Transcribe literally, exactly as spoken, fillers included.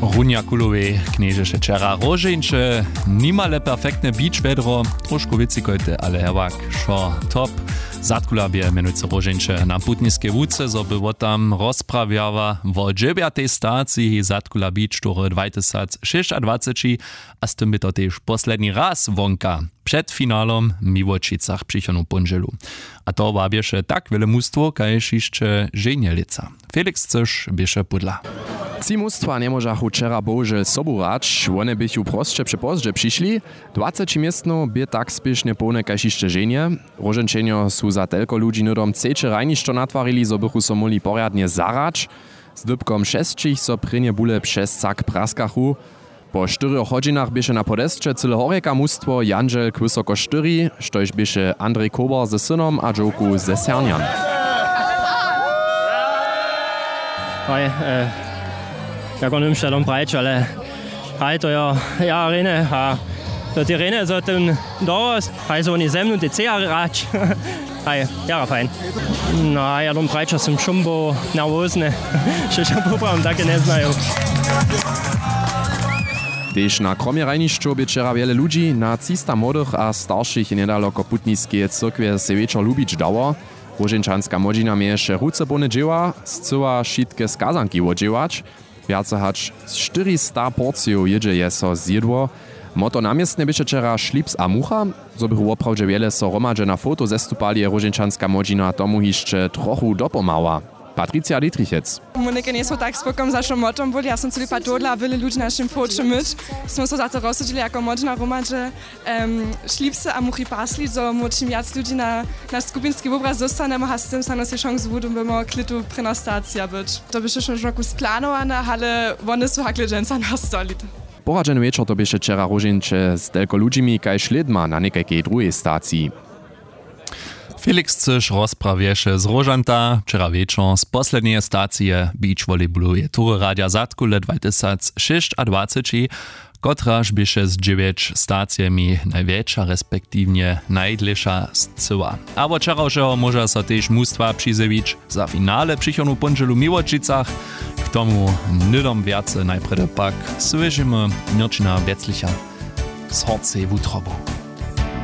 Runja kulowej knježeše wčera róžeńće, nimale perfektne beach wjedro, trošku wěcikojte ale hewak, wšo top. Zadkula bě mjenujcy róžeńće na putniskej łuce, zo by wo tam rozprawjała wo dźewjatej staciji zadkula beach tury dwatysacšěsćadwaceći, a z tym bě to tež posledni raz wonka před finalom w Miłočicach přichodnu póndźelu. A to wabješe tak wjele mustwow kaž hišće ženje lětsa. Felix Cyš běše pódla. Tři mustwa njemóžachu wčera bohužel sobu hrać, wone běchu prosće přepozdźe přišli. Dwaceći městnow bě tak spěšnje połne kaž hišće ženje. Róžeńćenjo su za telko ludźi hnydom třeće hrajnišćo natwarili, zo bychu so móhli porjadnje zahrać. Z dypkom šesćich so prěnje bule přez cak praskachu. Po štyrjoch hodźinach běše na podesće cyle horjeka mustwo jandźel k wysoko štyri, štož běše andrej kober ze synom a dźowku ze sernjan. Haj, e, jako nymšta dom prajć, ale haj, to jo, ja rejne a to ty rejne zo ten dorost, haj, zo woni ze mnu ty ceja hrać. Haj, jara fajn. No ja dom prajča sym šumboł nerwozny. Šećo poprawom take njeznaju. Tež na kromjerajnišću bě wčera wjele ludźi. Na třista młodych a staršich je njedaloko putniskeje cyrkwje sej wječor lubić dało. Róžeńčanska młodźina měješe ruce połne dźěła, scyła wšitke skazanki wodźěłać. Wjace hač štyrista porcijow jědźe je so zjědło. Moto na městnje běše wčera šlips a mucha. Zo běchu woprawdźe wjele so hromadźe na foto zestupali, je róžeńčanska młodźina tomu hišće trochu dopomhała. Patricia Dietrichec. Mój někaj njejsmy tak spokojom za wšom motom byli, ja som culi pad tohodla a wjele ludźi na našim foće myć. Smy so za to rozsudźili jako młodźina hromadźe. Em, šlipsy a muchi pasli, zo móhł čim wjac ludźi na naš skupinski wobraz dóstanemy a z tym snano sej šansu wudymy klětu prěna stacija być. To běše wšo žoku splanowane, ale wone su hakle dźensa nastali. Poradźeny wječor to běše wčera róžeńće z telko ludźimi kaž lědma na někajkej druhej staciji. Felix Cyš rozprawješe z róžanta wčera wječor z posledneje stacije beach volleyballoweje tury radja zadkule dwatysacšěsćadwaceći, kotraž běše z dźewjeć stacijemi najwjetša respektiwnje najdlěša scyła. A wot wčerawšeho móža so tež mustwa přizjewić za finale přichodnu póndźelu w Miłočicach. K tomu hnydom wjace najprjedy pak słyšimy Měrćina Wjetzlicha z Horcej wutrobu.